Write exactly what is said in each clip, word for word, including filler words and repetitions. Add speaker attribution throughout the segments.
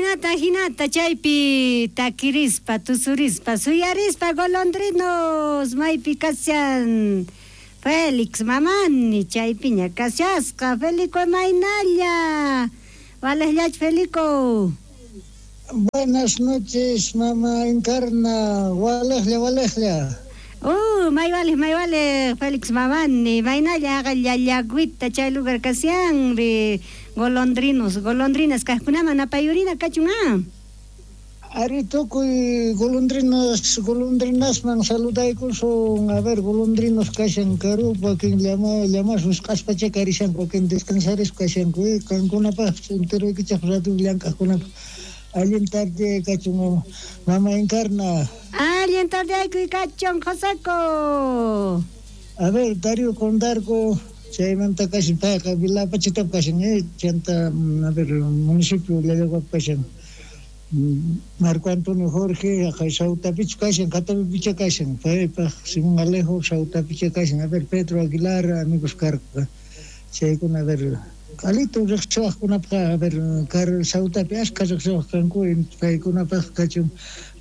Speaker 1: Ajinata, ajinata, chaypi takirispa, tusurispa, suyarispa, golondrinos, maypi kashan Félix Mamani, chaypiña kashasqa, Felico maynalla, walejllach Felico.
Speaker 2: Buenas noches, mamá Encarna, walejlla, walejlla.
Speaker 1: Uh, may vale, may vale, Félix Mamani, maynalla, llallagüita, chay lugar kashan, golondrinos, golondrinas, kajkunaman apayurina kachun ah.
Speaker 2: Ari tukuy golondrinas, golondrinasman saludaykusun, a ver, golondrinos kashan karup, wakin llama, llamas wisq'aspacha karishanku, wakin descansarispa kashanku, qankunapaq enteroykichaq radio llank'aqkunapaq. Allin tarde kachun, mama Encarna.
Speaker 1: Allin tarde aykuy kachun, Joseco.
Speaker 2: A ver, Darío Condarco, chaymanta kashan, payqa Vilapachitap kashan, eh, chanta, a ver, municipio Llallaguap kashan. Marco Antonio Jorge, acá Sautapichu kashan, Catapipicha kashan, paypaq Simón Alejo, Sautapicha kashan, a ver, Pedro Aguilar, amigos karqa, chaykuna, a ver, qalito riqsiwaqkunapaq, a ver, kar Sautapi ashka riqsiwaq kanku, paykunapaq kachun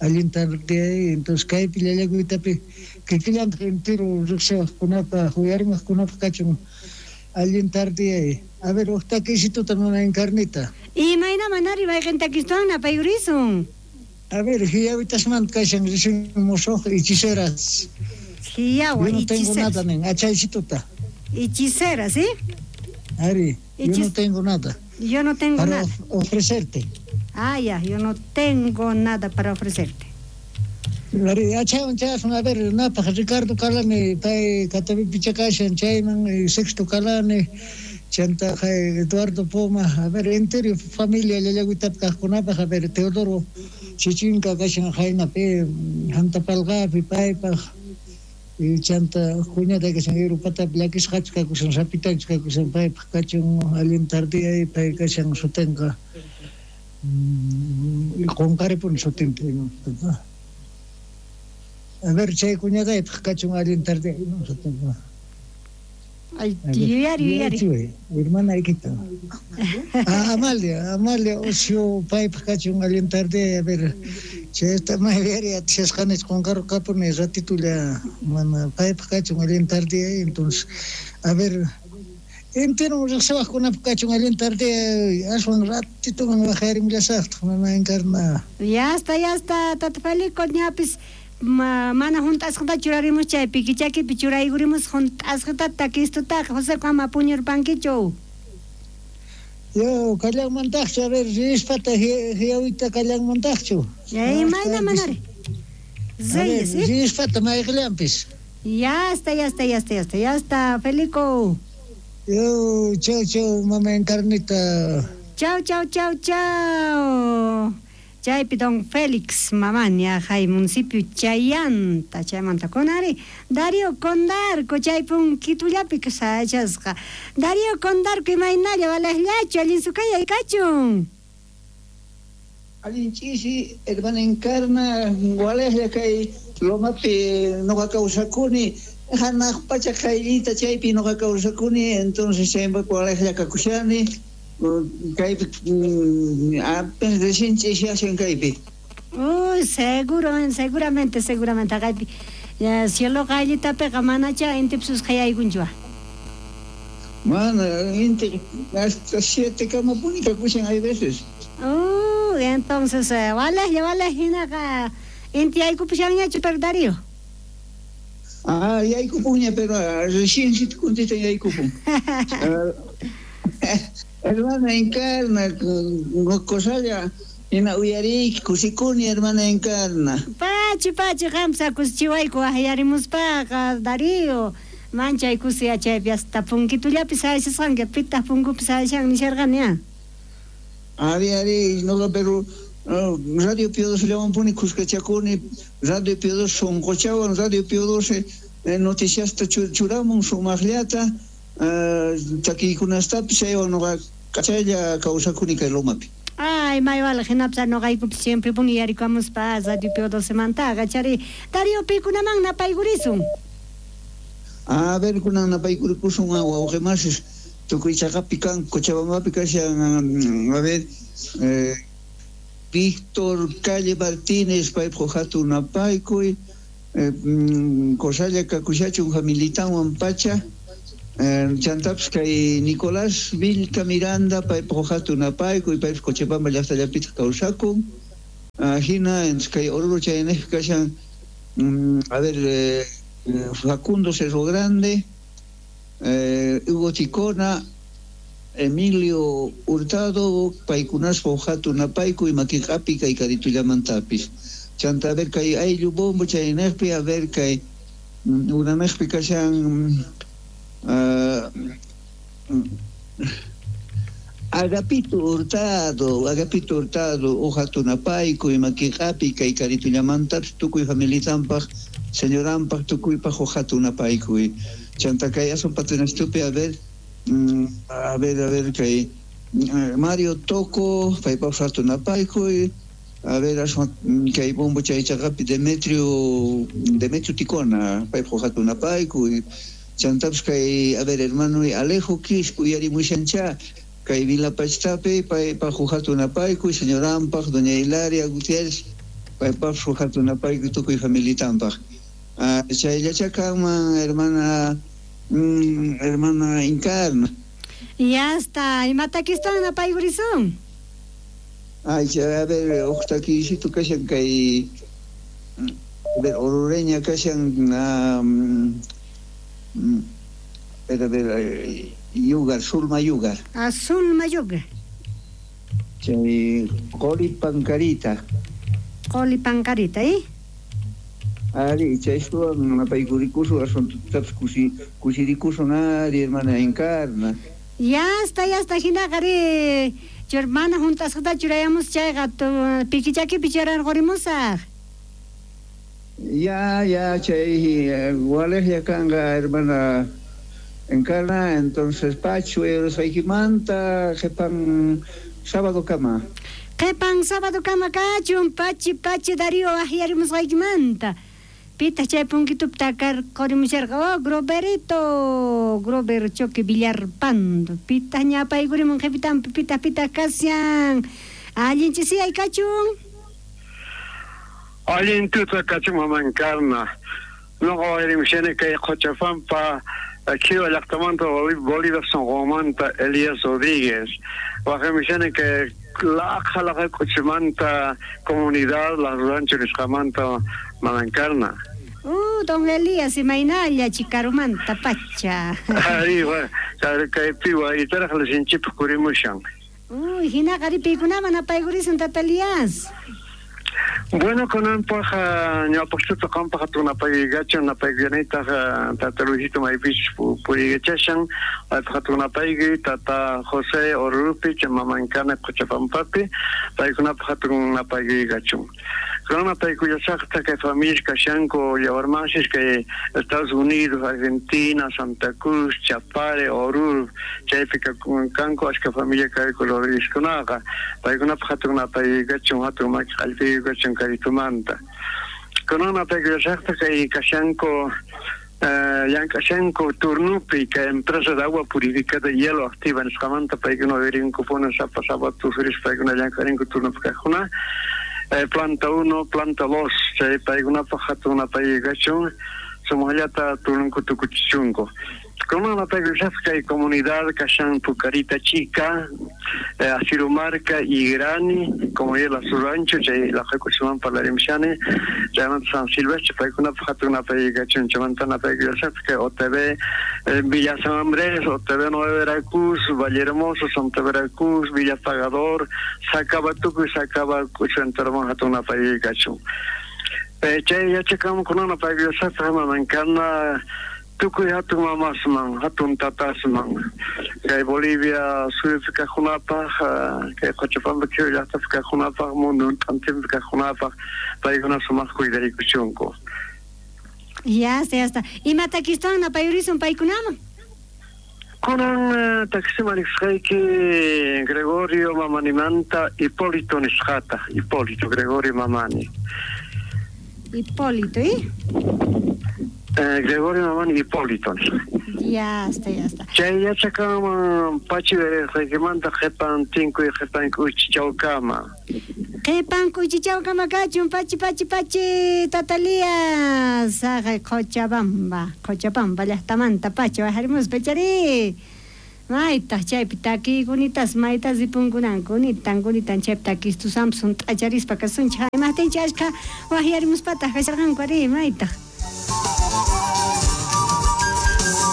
Speaker 2: allin tarde, entonces kaypi llallaguytapi kikillantaq entero riqsiwaqkunapaq, uyarimaqkunapaq kachun allin tarde. A ver, uj takisituta mama Encarnita.
Speaker 1: Imaynaman ari mayqin takistuwan apayurisun?
Speaker 2: A ver, hiyawitasmanta kashan recién musuq hechiceras.
Speaker 1: Hiyawa,
Speaker 2: Yo no tengo
Speaker 1: hechiceras.
Speaker 2: nada, nen, achaycituta.
Speaker 1: Hechiceras, ¿sí?
Speaker 2: Ari, yo
Speaker 1: Hechis-
Speaker 2: no tengo nada.
Speaker 1: Yo no tengo
Speaker 2: Para
Speaker 1: nada.
Speaker 2: of- ofrecerte.
Speaker 1: Ah, ya, yo no tengo nada para ofrecerte.
Speaker 2: Ari, achaywan chayasun, a ver, napaq Ricardo Calani, pay Catapipicha kashan, chayman, eh, Sexto Calani, chanta Eduardo Poma, a ver, entero familia llallagüitapi kaqkunapaq, a ver, Teodoro Chichinka kashan jaynapi, Jantapalqapi, paypaq, y chanta cuñada kashan Europatapi llakisqachu kakushan, sapitanchu kakushan, paypaq kachun allin tardiyay, pay kashan sutinqa, mm, qunqaripuni sutinta. A ver, chay cuñadaypaq kachun allin tardiyay, sutinqa.
Speaker 1: Ay, yuyari, yuyari.
Speaker 2: Yuyari, hermana Iquita. Ah, Amalia, Amalia Ocio, paypaq kachun allin tarde, a ver, chayta mayari atishasqanich qunqarqapuni ratitulla, mana paypaq kachun allin tarde, entonces, a ver, entero riqsiwaqkunapaq kachun allin tarde, aswan ratituman waqarimullasaqtaq, mama Encarna.
Speaker 1: Ya está, ya está, tata Felico, ñapis. Ma, mana junt'asqata churarimus chaypi, kichakipi churaykurimus junt'asqata takistutaqa, José ama puñurpankichu.
Speaker 2: Yo, kallanmantaqchu, a ver, rispata hiyawita kallanmantaqchu.
Speaker 1: Ya, imayna manari. Reyes, ¿eh?
Speaker 2: Rispata mayqillanpis.
Speaker 1: Ya está, ya está, ya está, ya está, ya está, Felico.
Speaker 2: Yo, chau, chau, mama Encarnita.
Speaker 1: Chau, chau, chau, chau. Chaypi don Félix Mamani, ajay municipio Chayanta, chaymanta kunari, Darío Condarco, chaypun kitullapi kasachasqa. Darío Condarco, imaynalla, walejllachu, allin sukayay kachun.
Speaker 3: Allin ch'isi, hermana Encarna, walejlla kay lomapi noqa kawsakuni, hanaq pacha qayllita chaypi noqa kawsakuni, entonces chaypi walejlla kakushani. Kaypi, apenas recién ch'isiyashan kaypi.
Speaker 1: Uy, seguro, seguramente, seguramente kaypi. Cielo qayllitapiqa manacha intip susqayaykunchu.
Speaker 3: Mana, inti hasta siete kamapuni kakushan hay veces.
Speaker 1: Uy, entonces, walejlla, walej hinaqa inti yaykupushanñachu, pero Darío.
Speaker 3: Ah, yaykupunña, pero recién si kuntita yaykupun. Hermana Encarna, cosalla, ina uyariki, kusikuni, hermana Encarna.
Speaker 1: Pachi, pachi, qamsa kusichiwayku ahyarimuspaqa, Darío. Manchay kusi achaypi hasta punkitullapi sayasqanki, pitaq punkupi sayashan nisharqani, ah.
Speaker 3: Ari, ari, noqa, pero uh, Radio Pío doce llawanpuni kuskachakuni, Radio Pío doce sunquchawan, Radio Pío doce eh, noticiasta churamun sumaqllata, uh, takiykunastapis chaywan noqa kachaylla kawsakuni kay lomapi.
Speaker 1: Ay, may wala hinapsa noqaykupi siempre puni yarikamuspa Radio Pío doce mantaqa, chari Darío pikunaman napaykurisun.
Speaker 3: A ver, kunan napaykurikusun wawqimasis tukuy chaqapi kan Cochabambapi kashan, a ver, eh, Víctor Calle Martínez paypaj hatun napaykuy Kosalla kakushachun familitanwan pacha chantapis kay Nicolás Vilca Miranda paypaj hatun napaykuy paypaj Cochabamba llaqtallapitaq kawsakun hina kay Oruro chaynejpi kashan a ver eh, Facundo Cerro Grande, eh, Hugo Ticona, Emilio Hurtado, paykunaspa hatun napaykuy makiq'api kay karitullamantapish. Chanta a ver kay ayllu bombo chaynejpi a ver kay unanejpi kashan uh, Agapito Hurtado, Agapito Hurtado, hatun napaykuy makiq'api kay karitullamantapish tukuy familitanpaj señoranpaj tukuypaj hatun napaykuy. Chanta kay asun patrinastupi a ver a ver a ver kay Mario Toco paypaj hatun napaykuy a ver asun kay bombo chaychaqapi Demetrio Demetrio Ticona paypaj hatun napaykuy chantapis kay a ver hermano Alejo Quispo uyarimushancha kay Vilapachtapi paypaj hatun napaykuy señoranpaj doña Hilaria Gutiérrez paypaj hatun napaykuy tukuy familitanpaj. Chayllacha kanman hermana mm, hermana Encarna.
Speaker 1: Ya está, imatakistan napaykurisun?
Speaker 3: Ay, a ver, uqtakisitu kashan kay a ver, orureña kashan um, a ver, a ver, Yugar, Zulma Yugar.
Speaker 1: Ah, Zulma Yugar.
Speaker 3: Chay Qoli Pancarita.
Speaker 1: Qoli Pancarita, ¿eh?
Speaker 3: Ari, chaysuwan napaykurikushu asuntutapis kusi kusirikusun ari hermana Encarna.
Speaker 1: Ya está, ya está, hinaqa ri hermana juntasqata churayamus chayqa pikichakipi churarqurimusaq.
Speaker 3: Ya, ya, chay walejlla kanqa hermana Encarna, entonces pachu erusqaykimanta qhipan sábado kama.
Speaker 1: Qhipan sábado kama kachun pachi pachi Darío ahyarimusqaykimanta. Pita chay punkitupi takar qurimusharqa oh Groberito Grober Choque Villarpando pita ñapaykurimun qhipitanpi pita pita kashan allinchisiyay kachun.
Speaker 4: Allin tuta kachun mama Encarna. Noqa wayrimushani kay Qochapampa Kiwa llaqtamanta Bolívar Sonqomanta Elías Rodríguez. Waqaymushani kay laqha laqha k'uchimanta comunidad Las Rancho nisqamanta mama Encarna.
Speaker 1: Uh, don Elías imaynalla chikarumanta pacha.
Speaker 4: Ari, kaypi waytaraq lisinchipaq kurimushan.
Speaker 1: Uy, hinaqa ri paykunaman napaykurisun tata Elías.
Speaker 4: Bueno, kunanpaj ñawpaqchuta qampaj hatun napaykuykachun napaykuyanaytaq tata Luisito maypichus puriykachashan paypaj hatun napaykuy tata José Orurupi chay mama Encarna Qochapampapi paykunapaj hatun napaykuykachun. Kunan napaykuyasaqta kay familias kashanku yawarmasis kay Estados Unidos, Argentina, Santa Cruz, Chapare, Oruro chaypi kanku ashka familia kayku Rodríguezkunaqa paykunapaj hatun napaykachun hatun maki qallpiykachun karitumanta. Kunan napaykuyasaqta kay kashanku llank'ashanku turnupi kay empresa de agua purificada y hielo activa nisqamanta paykuna uyarinkupuni sapa sapa tusurispa paykuna llank'arinku turnupi kaqkuna eh, planta uno, planta dos chay paykunapaj hatun napaykachun sumaqllata turnunku tukuchichunku. Kunan napaykuyasaqta kay comunidad kashan Pucarita Chica, eh, Asirumarca y Grani, comunidad Las Rancho, chay laqhakuchiman parlarimushani, chaymanta San Silvestre, paykunapaj hatun napaykachun, chaymanta napaykuyasaqta kay O T V, eh, Villa San Andrés, O T V Nueva Veracruz, Valle Hermoso, Santa Veracruz, Villa Pagador, Sacabatuco y Sacabacucho, enterman hatun napaykachun. Eh, chay yachakamu kunan napaykuyasaqta mama Encarna tukuy hatun mamasman, hatun tatasman. Kay Bolivia suyupi kaqkunapaj, kay Qochapampa Kiwa llaqtapi kaqkunapaj, mundo t'antinpi kaqkunapaj, paykuna sumaq cuidarikuchunku.
Speaker 1: Ya está, ya está. Imatakistawan napayurisun paykunaman?
Speaker 4: Kunan taksiman riqsqayki Gregorio Mamanimanta Hipólito nisqata, Hipólito Gregorio Mamani.
Speaker 1: Hipólito, ¿eh?
Speaker 4: Eh, Gregorio Mamani Hipólito.
Speaker 1: Ya está, ya está.
Speaker 4: Chay yachakaman pachi weresqaykimanta qhipan tinkuy qhipan k'uchichawkama.
Speaker 1: Qhipan k'uchichawkama kachun pachi pachi pachi Tatalía saqay Cochabamba Cochabamba llaqtamanta pachi wajarimuspa chari. Maytaq chaypi takiykunitas maytas ripunkunanku nitan kunitan chaypi takistusampas hunt'acharispa kasunchik imaqtinchik ashkha wajyarimuspataq kasharqanku ari maytaq.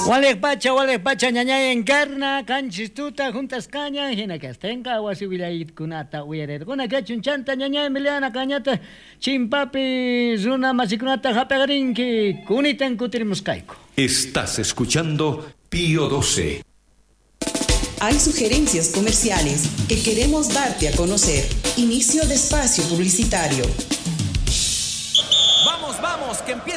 Speaker 5: Waliq pacha, waliq pacha, ñañay encarna, kanchis tuta, juntas caña, hina kastenqa, wasi willaykunata uyarirquna kachun chanta, ñañay Emiliana kañata, chimpapi, runa masikunata hap'aqrinki, kunitan kutirimusqayku.
Speaker 6: Estás escuchando Pío doce.
Speaker 7: Hay sugerencias comerciales que queremos darte a conocer. Inicio de espacio publicitario.
Speaker 8: Vamos, vamos, que empieza